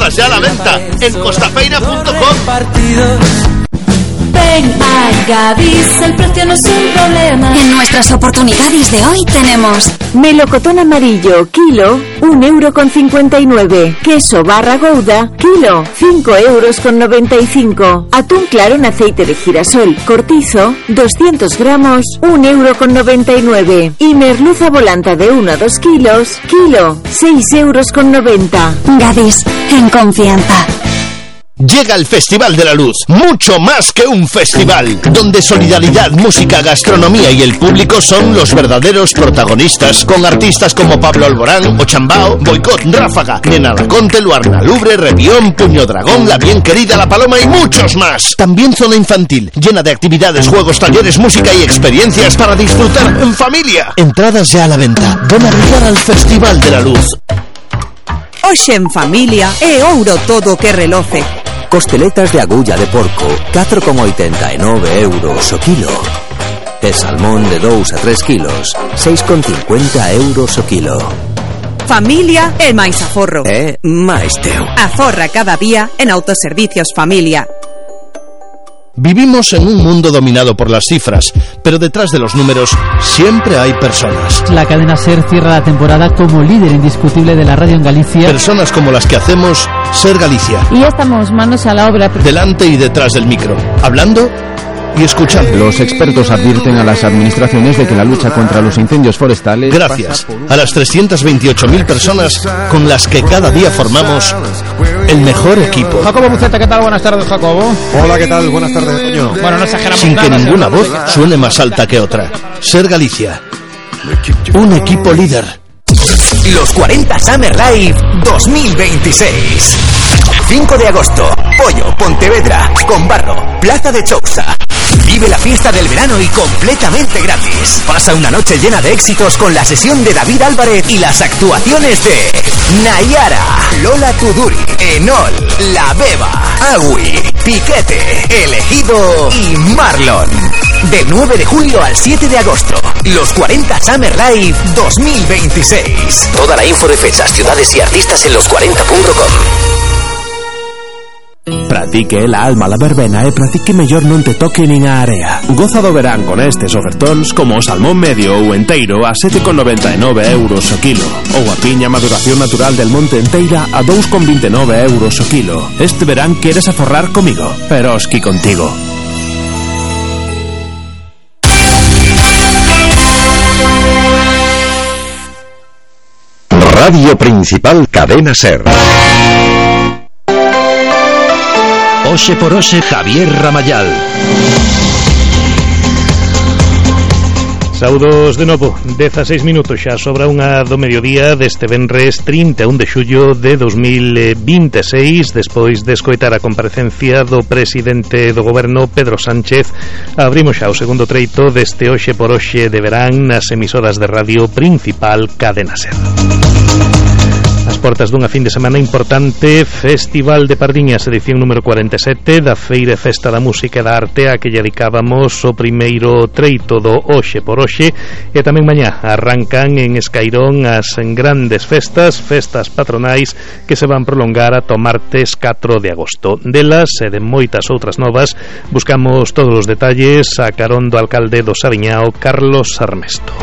Todas ya a la venta en costafeira.com. Ven a Gadis, el precio no es un problema. En nuestras oportunidades de hoy tenemos melocotón amarillo, kilo, 1,59 €. Queso barra Gouda, kilo, 5,95 €. Atún claro en aceite de girasol, cortizo, 200 gramos, 1,99 €. Y merluza volanta de 1 a 2 kilos, kilo, 6,90 €. Gadis, en confianza. Llega el Festival de la Luz, mucho más que un festival, donde solidaridad, música, gastronomía y el público son los verdaderos protagonistas, con artistas como Pablo Alborán, Ochambao, Boicot, Ráfaga, Nena Laconte, Luarna Lubre, Revión, Puño Dragón, La Bien Querida, La Paloma y muchos más. También zona infantil, llena de actividades, juegos, talleres, música y experiencias para disfrutar en familia. Entradas ya a la venta. Ven a brillar al Festival de la Luz. Hoxe en familia é ouro todo que reloce. Costeletas de agulla de porco, 4,89 € o kilo. E salmón de 2 a 3 kilos, 6,50 € o kilo. Familia e máis aforro. Máis teu. Aforra cada día en Autoservicios Familia. Vivimos en un mundo dominado por las cifras, pero detrás de los números siempre hay personas. La cadena SER cierra la temporada como líder indiscutible de la radio en Galicia. Personas como las que hacemos Ser Galicia. Y ya estamos manos a la obra. Delante y detrás del micro, hablando y escuchando. Los expertos advierten a las administraciones de que la lucha contra los incendios forestales... Gracias a las 328.000 personas con las que cada día formamos el mejor equipo. Jacobo Buceta, ¿qué tal? Buenas tardes, Jacobo. Hola, ¿qué tal? Buenas tardes, Antonio. Bueno, no exageramos Sin nada, que ninguna voz suene más alta que otra. Ser Galicia. Un equipo líder. Los 40 Summer Live 2026. 5 de agosto, Pollo, Pontevedra, Combarro, Plaza de Chousa. Vive la fiesta del verano y completamente gratis. Pasa una noche llena de éxitos con la sesión de David Álvarez y las actuaciones de Nayara, Lola Tuduri, Enol, La Beba, Agui, Piquete, Elegido y Marlon. Del 9 de julio al 7 de agosto, los 40 Summer Live 2026. Toda la info de fechas, ciudades y artistas en los40.com. Pratique la alma la verbena e pratique mellor non te toque nin a area. Goza do verán con estes ofertóns como o salmón medio ou enteiro a 7,99 € o kilo, ou a piña maduración natural del monte enteira a 2,29 € o kilo. Este verán queres aforrar comigo, pero esqui contigo. Radio Principal Cadena SER. Oxe por Oxe, Javier Ramayal. Saudos de novo, 16 minutos xa sobra unha do mediodía deste venres 31 de xullo de 2026, despois de escoitar a comparecencia do presidente do goberno Pedro Sánchez. Abrimos xa o segundo treito deste Oxe por Oxe de verán nas emisoras de radio Principal Cadena SER. As portas dunha fin de semana importante, Festival de Pardiñas, edición número 47 da Feira e Festa da Música e da Arte, a que lle dedicábamos o primeiro treito do Oxe por Oxe. E tamén mañá arrancan en Escairón as grandes festas patronais que se van prolongar ata o martes 4 de agosto. Delas e de moitas outras novas buscamos todos os detalles a carón do alcalde do Saviñao, Carlos Armesto.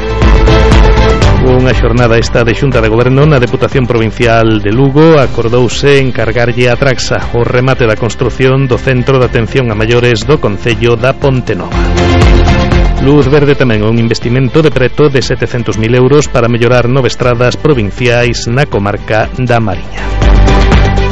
Unha xornada esta de Xunta de Goberno na Deputación Provincial de Lugo. Acordouse encargarlle a Traxa o remate da construción do Centro de Atención a Maiores do Concello da Pontenova. Luz verde tamén un investimento de preto de 700.000 € para mellorar 9 estradas provinciais na comarca da Mariña.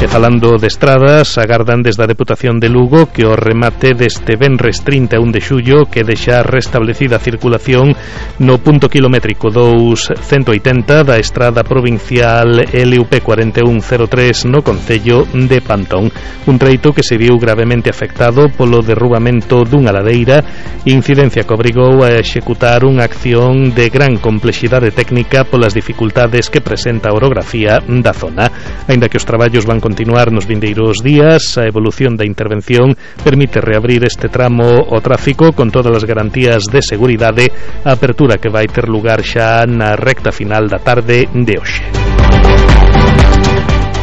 E falando de estradas, agardan desde a Deputación de Lugo que o remate deste venres 31 de xullo que deixa restablecida a circulación no punto kilométrico 280 da estrada provincial LUP 4103 no Concello de Pantón. Un treito que se viu gravemente afectado polo derrubamento dunha ladeira, incidencia que obrigou a executar unha acción de gran complexidade técnica polas dificultades que presenta a orografía da zona. Aínda que os traballos van continuar nos vindeiros días, a evolución da intervención permite reabrir este tramo ao tráfico con todas as garantías de seguridade, a apertura que vai ter lugar xa na recta final da tarde de hoxe.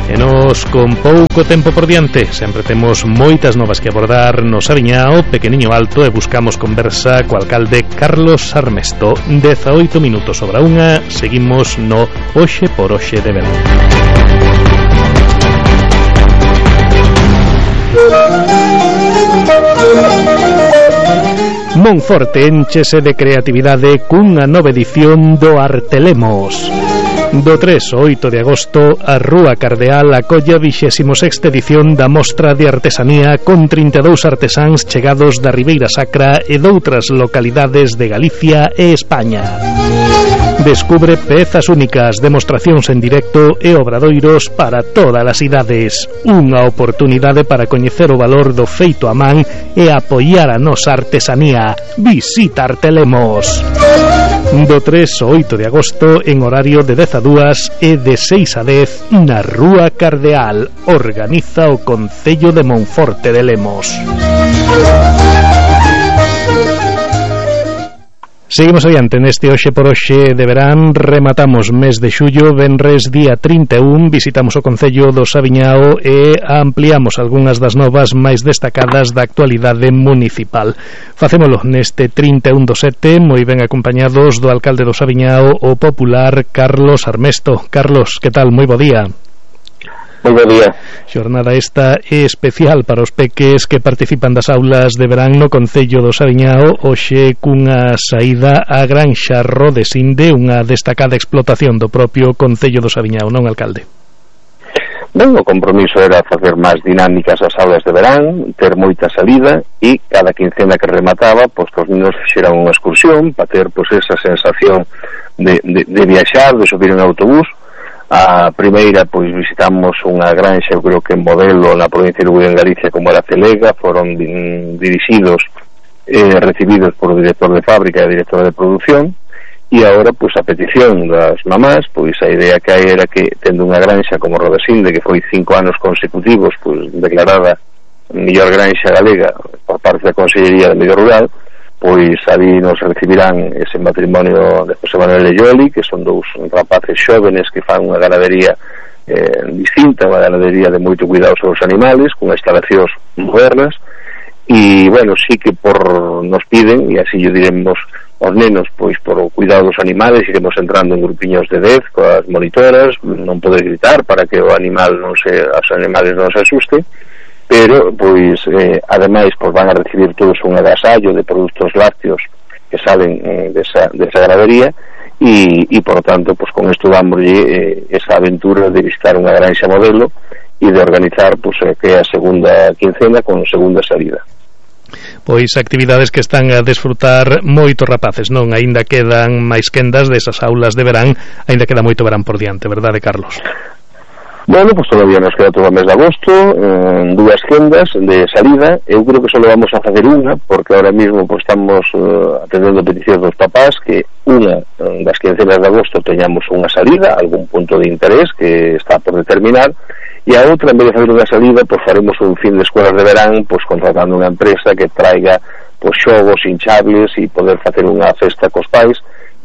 E nos con pouco tempo por diante sempre temos moitas novas que abordar no Saviñao, Pequeniño Alto, e buscamos conversa co alcalde Carlos Armesto. 18 minutos sobre a unha, seguimos no Hoxe por Hoxe de verán. Monforte énchese de creatividade cunha nova edición do Artelemos. Do 3 ao 8 de agosto, a Rúa Cardeal acolle a 26ª edición da Mostra de Artesanía con 32 artesáns chegados da Ribeira Sacra e doutras localidades de Galicia e España. Descubre pezas únicas, demostracións en directo e obradoiros para todas as idades. Unha oportunidade para coñecer o valor do feito a man e apoiar a nosa artesanía. Visita Artelemos. Do 3 ao 8 de agosto en horario de 10 a 2 e de 6 a 10 na Rúa Cardeal. Organiza o Concello de Monforte de Lemos. Seguimos adiante neste Hoxe por Hoxe de verán. Rematamos mes de xullo, venres día 31. Visitamos o Concello do Saviñao e ampliamos algunhas das novas máis destacadas da actualidade municipal. Facémolo neste 31 do 7, moi ben acompañados do alcalde do Saviñao, o popular Carlos Armesto. Carlos, que tal? Moi bo día. Moi bo día. Xornada esta especial para os peques que participan das aulas de verán no Concello do Saviñao, hoxe cunha saída á Granxa Rodesinde, unha destacada explotación do propio Concello do Saviñao, non, alcalde? Ben, o compromiso era facer máis dinámicas as aulas de verán, ter moita salida e cada quincena que remataba, pois que os niños fixeran unha excursión para ter pois esa sensación de viaxar, de subir en autobús. A primeira, pois visitamos unha granxa, eu creo que en modelo na provincia de Lugo en Galicia, como era Celega. Foron dirixidos recibidos por o director de fábrica e a directora de producción, e agora, pois a petición das mamás, pois a idea que hai era que, tendo unha granxa como Rodesinde, que foi 5 anos consecutivos pois declarada mellor granxa galega por parte da Consellería de Medio Rural, pois ali nos recibirán ese matrimonio de José Manuel e Yoli, que son dous rapaces xóvenes que fan unha ganadería distinta, unha ganadería de moito cuidado sobre os animales, con instalacións modernas. E, bueno, sí que nos piden, e así yo diremos aos nenos, pois por o cuidado dos animales, iremos entrando en grupiños de 10 coas monitoras, non poder gritar para que o animal os animales non se asusten, pero, pois, ademais, pois van a recibir todos un agasallo de produtos lácteos que salen desa ganadería e, por tanto, pois con isto dámoslle esa aventura de visitar unha granxa modelo e de organizar, pois, que é a segunda quincena con segunda salida. Pois actividades que están a desfrutar moitos rapaces, non? Aínda quedan máis quendas desas aulas de verán, aínda queda moito verán por diante, verdade, Carlos? Bueno, pues todavía nos queda todo o mes de agosto, dúas quendas de salida. Eu creo que só vamos a facer unha, porque ahora mesmo pues, estamos atendendo peticións dos papás que unha das quincenas de agosto teñamos unha salida, algún punto de interés que está por determinar, e a outra, en vez de fazer unha salida, pues faremos un fin de escolas de verán, pues contratando unha empresa que traiga pues xogos hinchables e poder facer unha festa cos pais.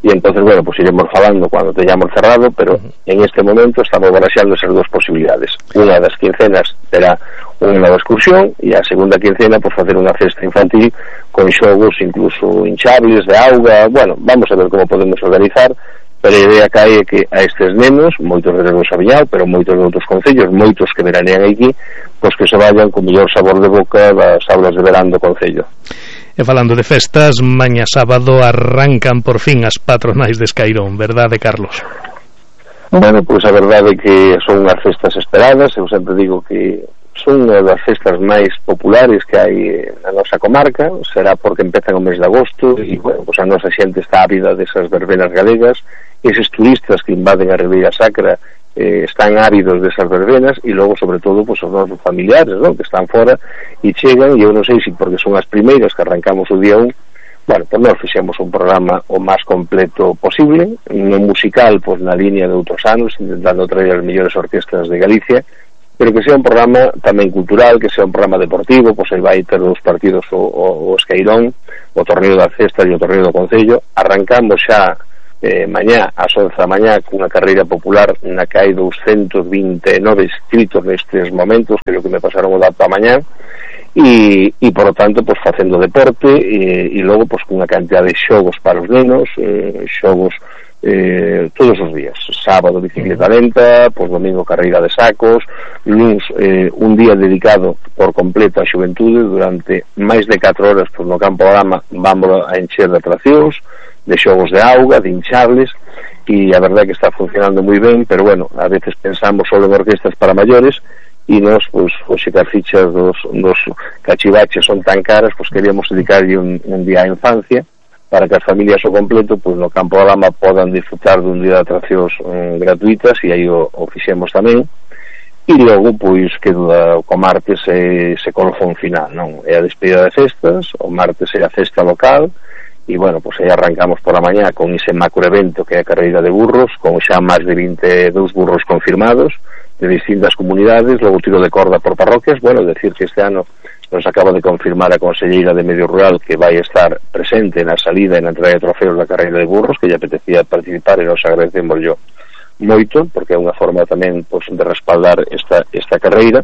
E entonces, bueno, pues iremos falando cando teñamos cerrado, pero en este momento estamos baraxando esas dúas posibilidades. Unha das quincenas terá unha nova excursión e a segunda quincena, pues facer unha festa infantil con xogos incluso hinchables de auga. Bueno, vamos a ver como podemos organizar, pero a idea que hai é que a estes nenos, moitos de do Saviñao, pero moitos de outros concellos, moitos que veranean aquí, pues que se vayan con mellor sabor de boca das aulas de verán do concello. E falando de festas, mañá sábado arrancan por fin as patronais de Escairón, verdade, Carlos? Bueno, pois a verdade é que son unhas festas esperadas. Eu sempre digo que son unha das festas máis populares que hai na nosa comarca. Será porque empezan o mes de agosto e, bueno, pois a nosa xente está ávida desas verbenas galegas. Eses turistas que invaden a Ribeira Sacra están ávidos desas verbenas, e logo, sobre todo, pues, os nosos familiares, ¿no?, que están fora e chegan, e eu non sei se porque son as primeiras que arrancamos o día 1, bueno, pues nós fixemos un programa o máis completo posible, non musical, pues na línea de outros anos, intentando traer as mellores orquestas de Galicia, pero que sea un programa tamén cultural, que sea un programa deportivo. Pues aí vai ter dos partidos o Escairón, o torneo da Cesta e o torneo do Concello. Arrancamos xa mañá ás 11 da mañá cunha carreira popular na que hai 229 inscritos nestes momentos, que é o que me pasaron o dato a mañá, e por lo tanto pues facendo deporte e logo pues cunha cantidad de xogos para os nenos, xogos todos os días, sábado bicicleta lenta, pues domingo carreira de sacos, luns un día dedicado por completo á xuventude durante máis de 4 horas pues no campo da Dama. Vamos a encher de atraccións, de xogos de auga, de hinchables, e a verdade é que está funcionando moi ben, pero bueno, a veces pensamos só en orquestas para maiores e nós, pois, hoxe que as fichas dos cachivaches son tan caras, pois queríamos dedicarlle un día á infancia para que as familias ao completo, pois no campo da Dama podan disfrutar dun día de atraccións gratuitas, e aí o fixemos tamén. E logo, pois, que co martes se colofón final, non? É a despedida de festas, o martes é a festa local, e, bueno, pois aí arrancamos por a mañá con ese macro evento que é a carreira de burros, con xa máis de 22 burros confirmados de distintas comunidades, logo tiro de corda por parroquias. Bueno, decir que este ano nos acaba de confirmar a conselleira de Medio Rural que vai estar presente na salida e na entrega de trofeos da carreira de burros, que lle apetecía participar, e nos agradecemos yo moito, porque é unha forma tamén pois, de respaldar esta carreira.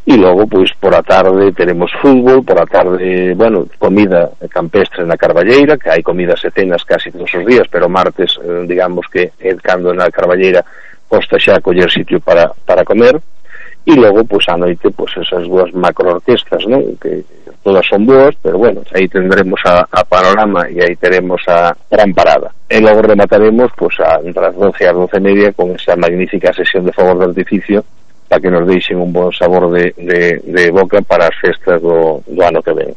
E logo, pois, por a tarde teremos fútbol, por a tarde, bueno, comida campestre na Carballeira, que hai comidas e cenas casi todos os días, pero martes, digamos que é cando na Carballeira costa xa coller sitio para comer. E logo, pois, a noite, pois, esas dúas macroorquestas, non? Que todas son boas, pero bueno, aí tendremos a Panorama e aí teremos a Gran Parada. E logo remataremos, pois, entre as 12 e as 12:30 con esa magnífica sesión de fogos de artificio para que nos deixen un bon sabor de boca para as festas do ano que ven.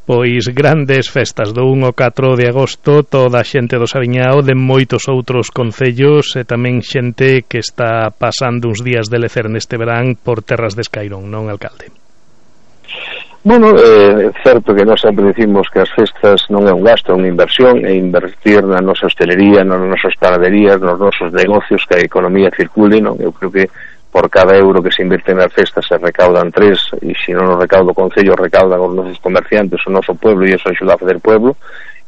Pois grandes festas do 1 ao 4 de agosto, toda a xente do Saviñao, de moitos outros concellos, e tamén xente que está pasando uns días de lecer neste verán por terras de Escairón, non, alcalde? Bueno, é certo que nós sempre dicimos que as festas non é un gasto, é unha inversión, é invertir na nosa hostelería, nas nosas panaderías, nos nosos negocios, que a economía circule, non? Eu creo que por cada euro que se invierte nas festas se recaudan 3, e se non o recauda o Concello, recaudan os nosos comerciantes, o noso pueblo, e iso axuda a fazer pueblo.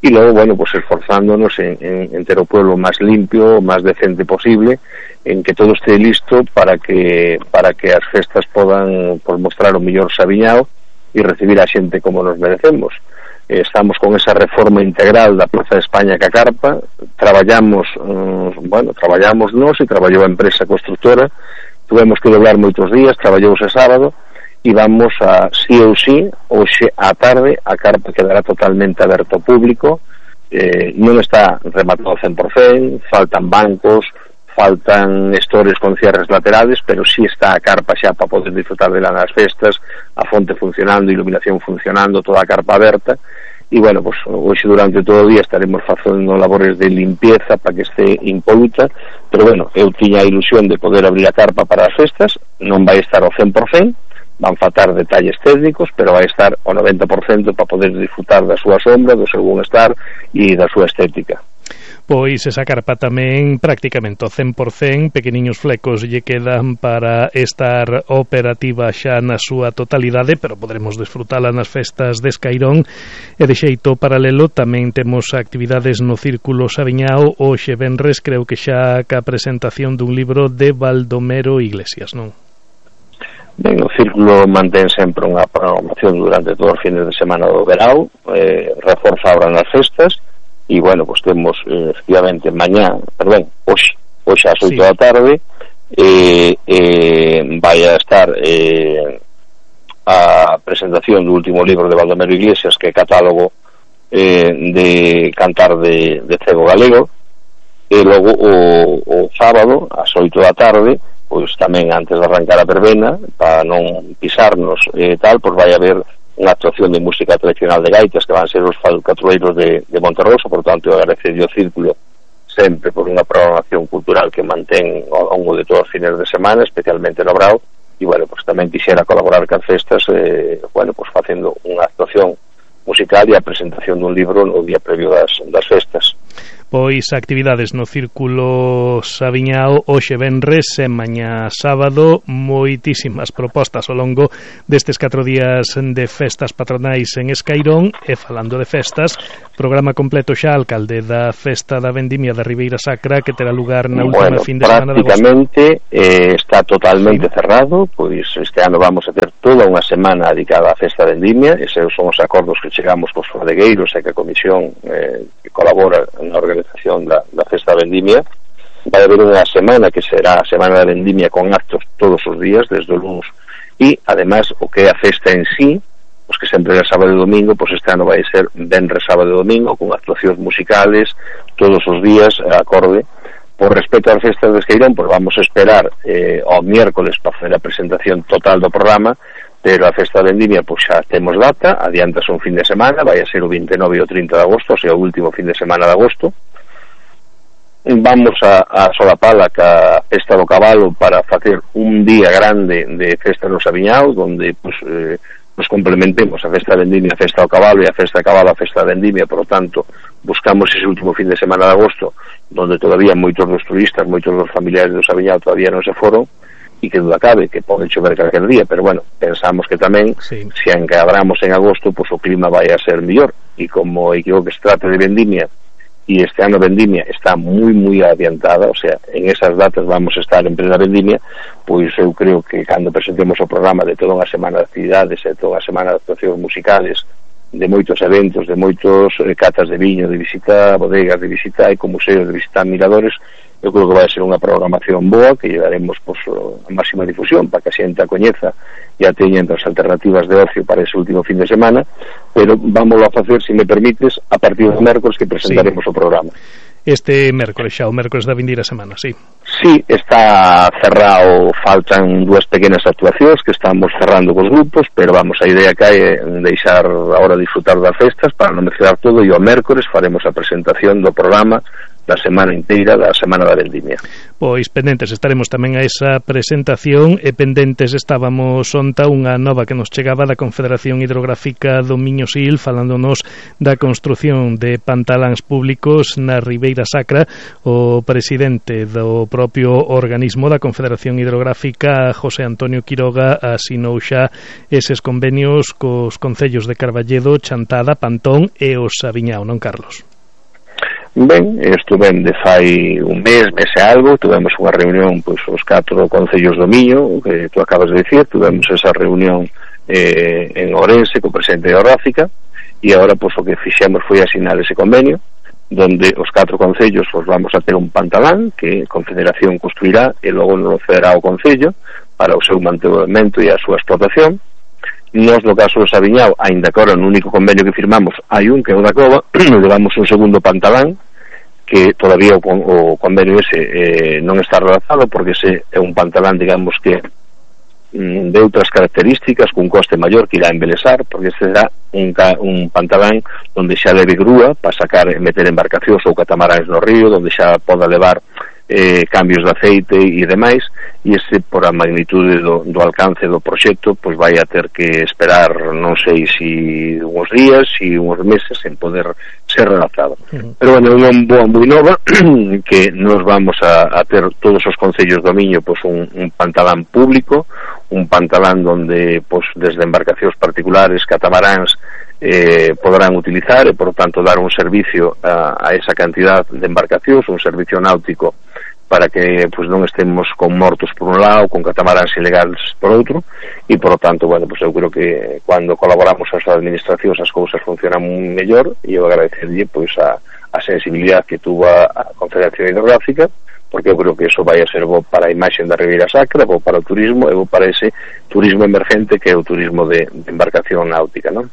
E logo, bueno, pues esforzándonos en ter o pueblo máis limpio, o máis decente posible, en que todo este listo para que as festas podan pues, mostrar o mellor Saviñao e recibir a xente como nos merecemos. Estamos con esa reforma integral da Plaza de España que a carpa, traballamos nós e traballou a empresa constructora. Tuvemos que doblar moitos días, traballouse sábado, e vamos a, sí ou sí, hoxe á tarde, a carpa quedará totalmente aberto ao público, non está rematado ao 100%, faltan bancos, faltan estores con cierres laterales, pero sí está a carpa xa para poder disfrutar dela nas festas, a fonte funcionando, iluminación funcionando, toda a carpa aberta. E, bueno, pues, hoxe durante todo o día estaremos facendo labores de limpieza para que este impoluta, pero, bueno, eu tiña a ilusión de poder abrir a carpa para as festas, non vai estar ao 100%, van faltar detalles técnicos, pero vai estar ao 90% para poder disfrutar da súa sombra, do seu bienestar e da súa estética. Pois esa carpa tamén prácticamente ao 100%, pequeniños flecos lle quedan para estar operativa xa na súa totalidade, pero poderemos desfrutala nas festas de Escairón. E de xeito paralelo tamén temos actividades no Círculo Saviñao. Hoxe venres creo que xa ca presentación dun libro de Baldomero Iglesias, non? Ben, o Círculo mantén sempre unha programación durante todos os fines de semana do verao, reforza ahora nas festas. E, bueno, pues temos, efectivamente, hoxe ás 8 da tarde vai a estar a presentación do último libro de Baldomero Iglesias, que é catálogo de cantar de cego galego. E logo o sábado ás 8 da tarde, pois tamén antes de arrancar a verbena, para non pisarnos e tal, pois vai haber unha actuación de música tradicional de gaitas que van ser os falcatrueiros de Monterroso. Por tanto, eu agradecerlle o Círculo sempre por unha programación cultural que mantén ao longo de todos os fines de semana, especialmente no Brao. E, bueno, pues tamén quixera colaborar con festas, facendo unha actuación musical e a presentación dun libro no día previo das festas. Pois actividades no Círculo Saviñao hoxe venres e mañá sábado, moitísimas propostas ao longo destes 4 días de festas patronais en Escairón. E falando de festas, programa completo xa, alcalde, da Festa da Vendimia da Ribeira Sacra, que terá lugar na última fin de semana de agosto. Prácticamente está totalmente cerrado, pois este ano vamos a ter toda unha semana dedicada á Festa da Vendimia. Eses son os acordos que chegamos cos bodegueiros e que a Comisión que colabora na organización da Festa da Vendimia. Vai haber unha semana que será a Semana da Vendimia con actos todos os días, desde o lunes, e ademais o que é a festa en sí, pues que sempre é sábado e domingo, pues este ano vai ser venres, sábado e domingo, con actuacións musicales todos os días, acorde. Por respecto ás festas de Escairón, pues vamos a esperar ao miércoles para facer a presentación total do programa, pero a Festa da Vendimia pues xa temos data, adiantase un fin de semana, vai a ser o 29 e o 30 de agosto, o sea, o último fin de semana de agosto. Vamos a solapala ca Festa do Cabalo para facer un día grande de festa no Saviñao, donde pues nos complementemos a Festa da Vendimia, a Festa do Cabalo, e a Festa do Cabalo, a Festa da Vendimia. Por lo tanto, buscamos ese último fin de semana de agosto, donde todavía moitos dos turistas, moitos dos familiares do Saviñao todavía non se foron, e que duda cabe que pode chover calquer día, pero bueno, pensamos que tamén se encadramos en agosto, pues o clima vai a ser mellor, e como que se trate de vendimia, e este ano vendimia está moi adiantada, o sea, en esas datas vamos a estar en plena vendimia, pois eu creo que cando presentemos o programa de toda unha semana de actividades e toda unha semana de actuacións musicales, de moitos eventos, de moitos catas de viño, de visita bodegas, de visita ecomuseos, de visita miradores, eu creo que vai ser unha programación boa, que llevaremos pues, a máxima difusión para que a xente a coñeza e a teña entre as alternativas de ocio para ese último fin de semana, pero vámoslo a facer, se me permites, a partir do mércoles que presentaremos o programa. Este mércoles xa, o mércoles da vindeira semana, sí. Sí, está cerrado, faltan 2 pequenas actuacións que estamos cerrando cos grupos, pero vamos, a idea que hai é deixar agora disfrutar das festas para non mezclar todo, e o mércoles faremos a presentación do programa da semana inteira da Semana da Vendimia. Pois pendentes estaremos tamén a esa presentación, e pendentes estábamos onta unha nova que nos chegaba da Confederación Hidrográfica do Miño-Sil, falándonos da construción de pantaláns públicos na Ribeira Sacra. O presidente do propio organismo da Confederación Hidrográfica, José Antonio Quiroga, asinou xa eses convenios cos concellos de Carballedo, Chantada, Pantón e o Saviñao, non, Carlos? Ben, estuve de fai un mes e algo, tuvemos unha reunión pois os 4 concellos do Miño, que tú acabas de dicir, tuvemos esa reunión en Ourense co presidente de Hidrográfica, e agora pois o que fixemos foi asinar ese convenio, donde os 4 concellos pues, vamos a ter un pantalán que a Confederación construirá e logo nos cederá ao concello para o seu mantemento e a súa explotación. Nos, no caso do Saviñao, ainda que agora no único convenio que firmamos hai un, que é o da Cova, levamos un segundo pantalán, que todavía o convenio ese non está redactado, porque ese é un pantalán, digamos que de outras características, cun coste maior que irá embelesar, porque este será un pantalán onde xa leve grúa para sacar e meter embarcacións ou catamaráns no río, onde xa poda levar cambios de aceite e demais, e ese, por a magnitude do alcance do proxecto, pois vai a ter que esperar, non sei se uns días, se uns meses, en poder ser redactado. Pero bueno, é unha boa moi nova, que nos vamos a ter todos os concellos do Miño pois un pantalán público, un pantalán donde pois desde embarcacións particulares, catamaráns, podrán utilizar e por tanto dar un servicio a esa cantidad de embarcacións, un servicio náutico para que pues, non estemos con mortos por un lado, con catamaráns ilegales por outro, e por lo tanto, bueno, pues eu creo que cando colaboramos as administracións as cousas funcionan mellor, e eu agradecerlle pues, a sensibilidade que tuvo a Confederación Hidrográfica, porque eu creo que eso vai a ser bo para a imaxe da Ribeira Sacra, bo para o turismo e bo para ese turismo emergente que é o turismo de embarcación náutica, non?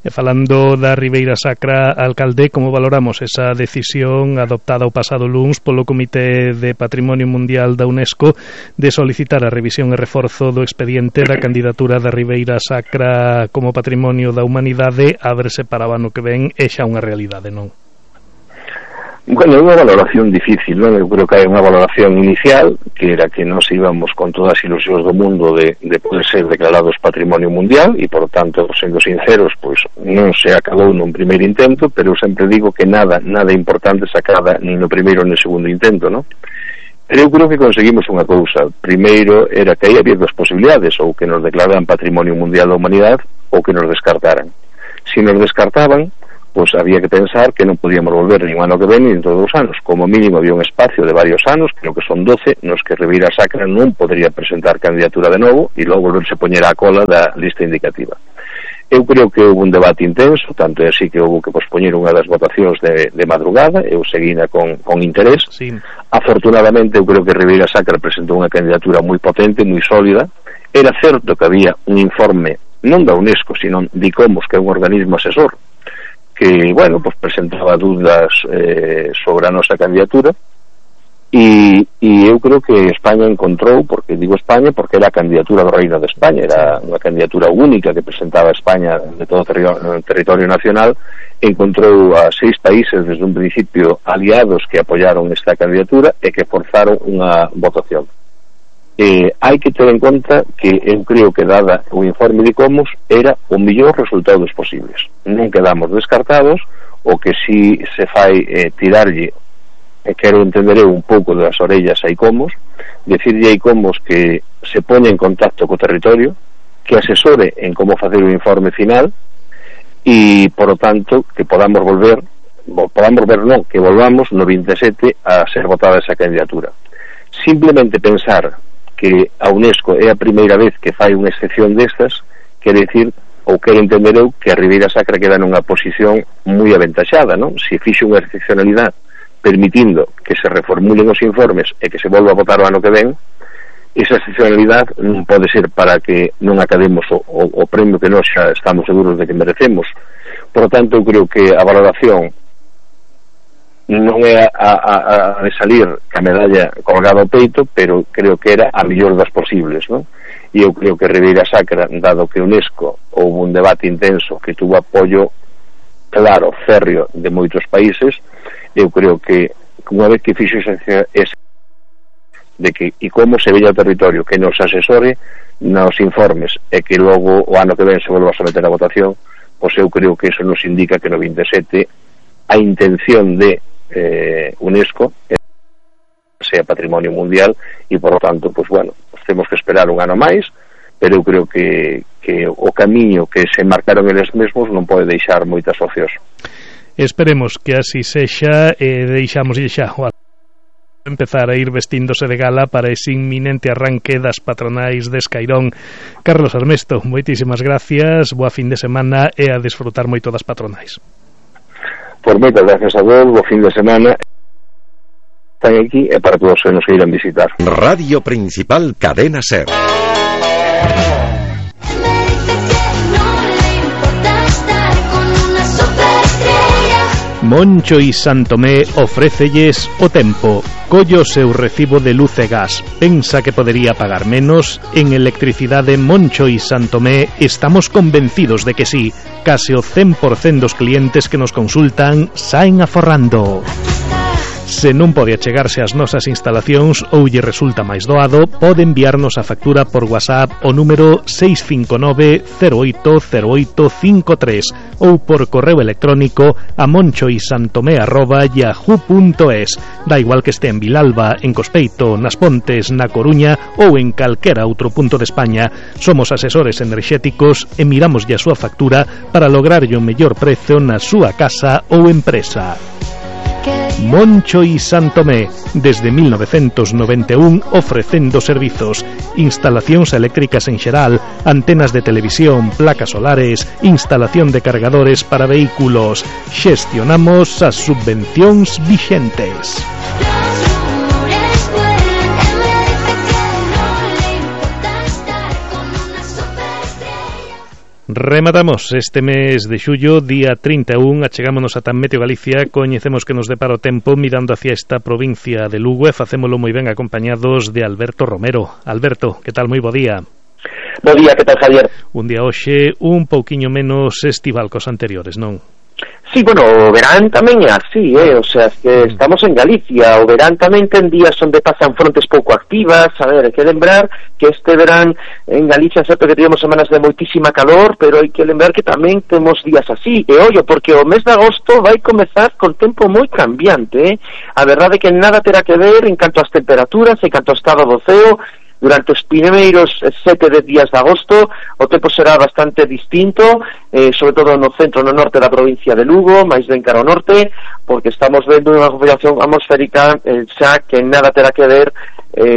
E falando da Ribeira Sacra, alcalde, como valoramos esa decisión adoptada o pasado luns polo Comité de Patrimonio Mundial da UNESCO de solicitar a revisión e reforzo do expediente da candidatura da Ribeira Sacra como Patrimonio da Humanidade a verse para o ano que ven é xa unha realidade, non? Bueno, é unha valoración difícil, non? Eu creo que hai unha valoración inicial, que era que nos íbamos con todas as ilusións do mundo de poder ser declarados Patrimonio Mundial, e, por tanto, sendo sinceros, pois non se acabou nun primeiro intento, pero eu sempre digo que nada importante se acaba nin no primeiro nin no segundo intento, non? Pero eu creo que conseguimos unha cousa. Primeiro era que aí había dos posibilidades, ou que nos declararan Patrimonio Mundial da Humanidade, ou que nos descartaran. Se nos descartaban, pois había que pensar que non podíamos volver nin ano que ven nin todos os anos. Como mínimo había un espacio de varios anos, creo que son 12, nos que Ribeira Sacra non podría presentar candidatura de novo e logo volverse poñer á cola da lista indicativa. Eu creo que houve un debate intenso, tanto é así que houve que pospoñer unha das votacións de madrugada, eu seguina con interés. Sí. Afortunadamente eu creo que Ribeira Sacra presentou unha candidatura moi potente, moi sólida. Era certo que había un informe non da UNESCO, sino de ICOMOS, que é un organismo asesor, que, bueno, pues presentaba dúdas sobre a nosa candidatura e eu creo que España encontrou, porque digo España porque era a candidatura do Reino de España, era unha candidatura única que presentaba España de todo o territorio nacional, encontrou a 6 países desde un principio aliados que apoyaron esta candidatura e que forzaron unha votación. Hai que ter en conta que eu creo que dada o informe de ICOMOS era o mellor resultado dos posibles. Non quedamos descartados, o que si se fai tirarlle, quero entender eu un pouco das orellas a ICOMOS, decirlle a ICOMOS que se poña en contacto co territorio, que asesore en como facer o informe final e, por lo tanto, que podamos volver non, que volvamos no 27 a ser votada esa candidatura. Simplemente pensar que a UNESCO é a primeira vez que fai unha excepción destas, quere dicir, ou quero entender eu, que a Ribeira Sacra queda nunha posición moi aventaxada, non? Se fixe unha excepcionalidade permitindo que se reformulen os informes e que se volva a votar o ano que ven, esa excepcionalidade non pode ser para que non academos o premio que nós xa estamos seguros de que merecemos. Por lo tanto, eu creo que a valoración non é a de salir ca medalla colgada ao peito, pero creo que era a mellor das posibles, non? E eu creo que Ribeira Sacra, dado que UNESCO houve un debate intenso que tuvo apoio claro, férreo de moitos países, eu creo que unha vez que fixo esa de que e como se veía o territorio que nos asesore nos informes e que logo o ano que ven se volva a someter a votación, pois eu creo que eso nos indica que no 27 a intención de UNESCO sea Patrimonio Mundial e, por lo tanto, pues bueno, pues temos que esperar un ano máis, pero eu creo que o camiño que se marcaron eles mesmos non pode deixar moitas opcións. Esperemos que así sexa e deixamos xa empezar a ir vestíndose de gala para ese inminente arranque das patronais de Escairón. Carlos Armesto, moitísimas gracias, boa fin de semana e a desfrutar moito das patronais. Por moitas gracias a vos, bo fin de semana. Están aquí e para todos os que nos queiran visitar. Radio Principal Cadena Ser. Moncho y Santomé ofrécelles o tempo. Collo seu recibo de luz e gas. Pensa que podería pagar menos? En Electricidade Moncho y Santomé estamos convencidos de que sí. Case o 100% dos clientes que nos consultan saen aforrando. Se non pode achegarse ás nosas instalacións ou lle resulta máis doado, pode enviarnos a factura por WhatsApp o número 659-080853 ou por correo electrónico a monchoisantomé@yahoo.es. Da igual que este en Vilalba, en Cospeito, nas Pontes, na Coruña ou en calquera outro punto de España. Somos asesores enerxéticos e miramos a súa factura para lograrlle o mellor prezo na súa casa ou empresa. Moncho y Santomé, desde 1991 ofrecendo servizos, instalacións eléctricas en xeral, antenas de televisión, placas solares, instalación de cargadores para vehículos. Xestionamos as subvencións vixentes. Rematamos este mes de xullo, día 31, achegámonos ata Meteo Galicia, coñecemos que nos depara o tempo mirando hacia esta provincia de Lugo e facémolo moi ben acompañados de Alberto Romero. Alberto, que tal? Moi bo día. Bo día, que tal, Javier? Un día hoxe un pouquiño menos estival cos anteriores, non? Sí, bueno, o verán tamén é así, o sea, que estamos en Galicia, o verán tamén ten días onde pasan frontes pouco activas, a ver, hai que lembrar que este verán en Galicia, certo que tivemos semanas de moitísima calor, pero hai que lembrar que tamén temos días así, e ollo, porque o mes de agosto vai comezar con tempo moi cambiante, a verdade é que nada terá que ver en canto ás temperaturas, en canto ao estado do ceo. Durante os primeiros 7 días de agosto o tempo será bastante distinto, sobre todo no centro, no norte da provincia de Lugo, máis ben cara ao norte, porque estamos vendo unha configuración atmosférica xa que nada terá que ver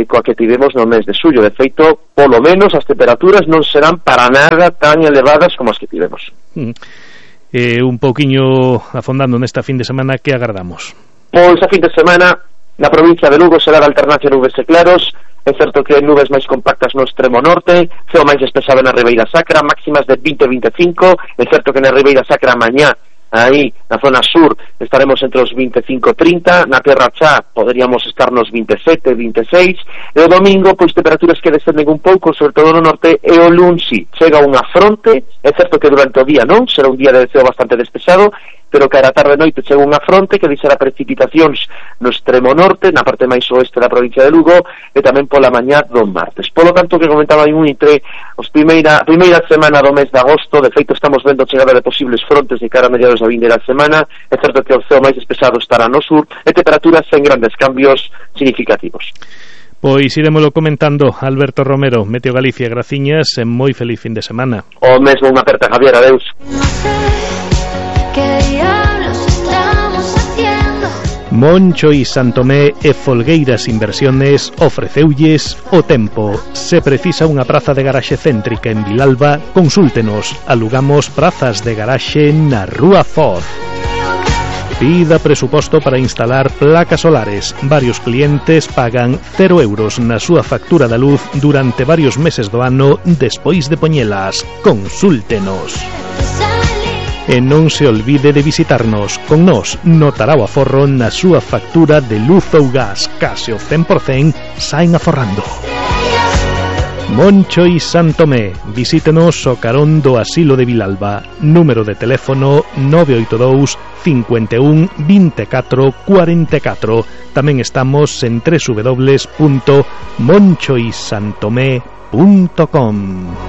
coa que tivemos no mes de xullo. De feito, polo menos as temperaturas non serán para nada tan elevadas como as que tivemos. Un pouquiño afondando nesta fin de semana, que agardamos? Pois a fin de semana na provincia de Lugo será de alternancia nubes e claros. É certo que nubes máis compactas no extremo norte, ceo máis despexado na Ribeira Sacra, máximas de 20-25, é certo que na Ribeira Sacra mañá, aí na zona sur, estaremos entre os 25-30, na Terra Chá poderíamos estar nos 27-26, e o domingo, pois temperaturas que descenden un pouco, sobre todo no norte, e o luns chega unha fronte, é certo que durante o día non, será un día de ceo bastante despexado, pero que a tarde e noite chega unha fronte que deixará precipitacións no extremo norte, na parte máis oeste da provincia de Lugo, e tamén pola mañá do martes. Polo tanto, que comentaba entre os primeira semana do mes de agosto, de feito estamos vendo a chegada de posibles frontes de cara a mediados da vindeira semana, é certo que o ceo máis despexado estará no sur, e temperaturas sen grandes cambios significativos. Pois iremoslo comentando. Alberto Romero, Meteo Galicia, graciñas e moi feliz fin de semana. O mesmo, unha aperta, Javier, adeus. Moncho y Santomé e Folgueiras Inversiones ofreceulles o tempo. Se precisa unha praza de garaxe céntrica en Vilalba, consúltenos. Alugamos prazas de garaxe na Rúa Foz. Pida presuposto para instalar placas solares. Varios clientes pagan 0 euros na súa factura da luz durante varios meses do ano despois de poñelas. Consúltenos. E non se olvide de visitarnos. Con nós notará o aforro na súa factura de luz ou gas. Case o 100% saen aforrando. Moncho y Santomé. Visítenos o carón do Asilo de Vilalba. Número de teléfono 982 51 24 44. Tamén estamos en www.monchoysantomé.com.